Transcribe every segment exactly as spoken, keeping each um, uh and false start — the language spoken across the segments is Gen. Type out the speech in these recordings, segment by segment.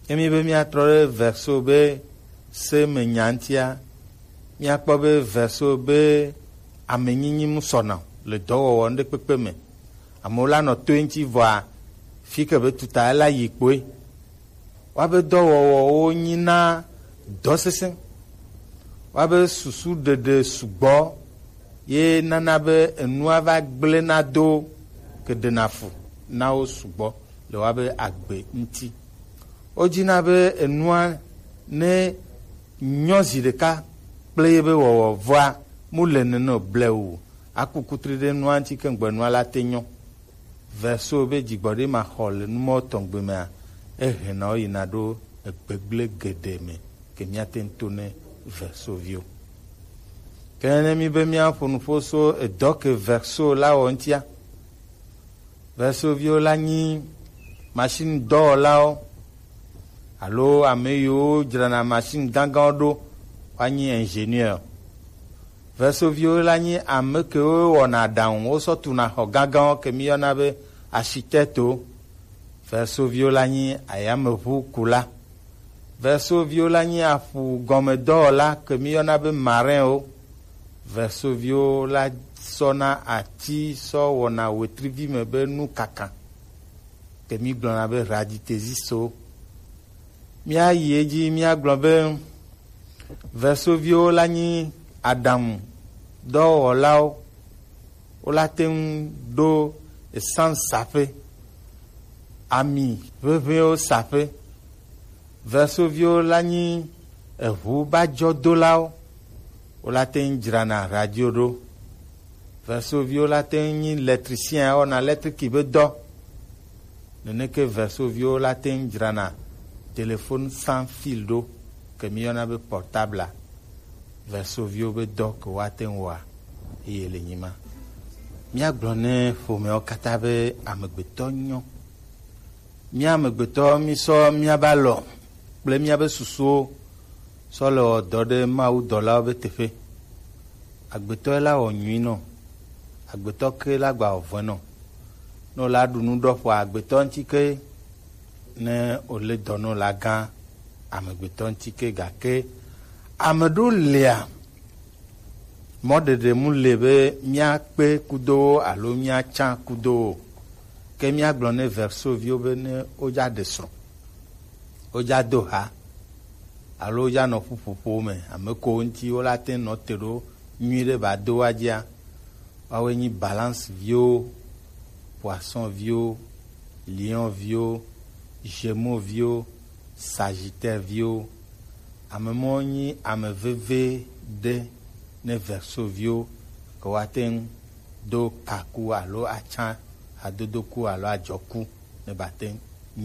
Emi be míatrɔ ɖe Verso be se me nya ŋutia, míakpɔ be Verso be amenyinyi mu sɔna le dɔwɔwɔ ŋɖekpekpe me. Amewo la nɔ toe ŋuti vɔa, fi ke be tuta la yi kpoe. Woabe dɔwɔwɔwo nyina dɔ sesẽ. Woabe susu ɖeɖe sugbɔ ye nana be enua va gblẽna do ke ɖena fu na wo sugbɔ le woabe agbe ŋuti. Wodina be enua ne nyɔ zi ɖeka kple ye be wɔwɔ vɔa mu le nene o blewu. Aku kutri ɖe nua ŋuti ke ŋgbe nua la te nyɔ. Verso be dzigbɔɖi ma xɔ le numɔ tɔgbe mea, ehena wo yina ɖo egbegble geɖe me ke míate ŋu to ne Verso viwo. Ke ne mi be míaƒo nuƒo so edɔ ke Verso la wɔ ŋutia, Verso viwo la nyi machine dɔwɔlawo alo ame yiwo dzrana machine gãgãwo ɖo, woanyi ingénieur. Verso viwo la nyi ame kewo wɔna aɖaŋu, wosɔ tuna xɔ gãgãwo ke míyɔna be architecte-wo. Verso viwo la nyi ayameʋukula. Verso viwo la nyi aƒu gɔmedɔwɔla ke míyɔna be marin-wo. Verso viwo la sɔna ati sɔ wɔna wetrivi me be nukaka ke mígblɔna be raditezis-wo. Míayi edzi míagblɔ be Verso viwo la nyi aɖaŋu dɔwɔlawo. Wola te ŋu ɖo essence saƒe, ami ʋeʋẽwo saƒe. Verso viwo la nyi eʋu bajɔdolawo. Wola te ŋu dzrana radio ɖo. Verso viwo la te ŋu nyi électricien, wɔna électrique be dɔ. Neneke Verso viwo la te ŋu dzrana téléphone sans fil ɖo, ke míyɔna be portable-a. Verso viwo be dɔ ke woate ŋu wɔa, eye le nyi ma. Míagblɔ ne ƒomeawo katã be amegbetɔ nyɔ. Mía amegbetɔ mísɔ míabe alɔ kple míabe susuwo sɔ le wɔ dɔ ɖe mawudɔlawo be teƒe. Agbetɔ la wɔ nyui nɔ. Agbetɔ ke la gba wɔ vɔe nɔ. Ne wòla ɖu nu ɖɔ ƒoa agbetɔ ŋuti ke, ne wòle dɔ ne wòla gã amegbetɔ ŋuti ke, gake ame ɖewo lia, mɔɖeɖe mu le be míakpe kudo wo alo míatsã kudo wo. Ke míagblɔ ne Verso viwo be ne wodza ɖe srɔ̃, wodza do ha, alo wodza nɔ ƒuƒoƒo me, ame ko ŋuti wola te nɔ te ɖo nyui ɖe ba do wa dzia, woawoe nyi Balance viwo, Poisson viwo, Lion viwo, Gémeaux viwo, Sagittaire viwo. Ame mɔ nyi ame veve ɖe ne Verso viwo ke woate ŋu do kaku alo atsã hadodoku alo adzɔku ne bate ŋu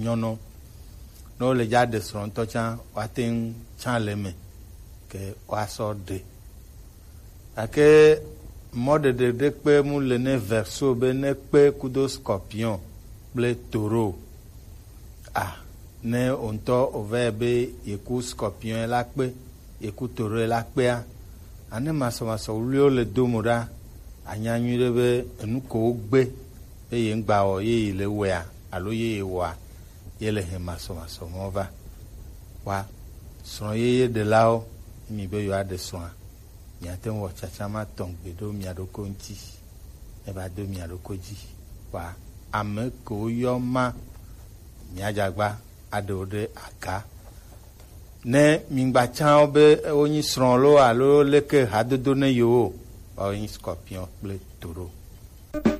nyɔnɔ. Ne wole dza ɖe srɔ̃ ŋutɔ tsã, woate ŋu tsã le eme ke woasɔ ɖe. Gake mɔɖeɖe ɖe kpe mu le ne Verso be ne kpe kudo Scorpion kple Taureau. A, ne wò ŋutɔ wòva yi be yeku Scorpion la kpe, yeku Taureau la kpea, ane masɔmasɔ wluiwo le do mo ɖa, anya nyui ɖe be enu ko wogbe be ye ŋgba wɔ ye yi le wɔea alo ye ye wɔa, ye le he masɔmasɔ mɔ va. Wa srɔ̃ yeye ɖelawo, mi be yewoaɖe srɔ̃a, miate ŋu wɔ tsatsa ma tɔgbe ɖo mia ɖokui ŋuti, eva do mia ɖokui dzi. Wa ame kewo yɔ ma, miadzagba aɖe wo ɖe aga. Ne migba tsã wo be wonyi srɔ̃ loo alo leke hadodo ne yewo, woawo nyi Scorpion kple Taureau.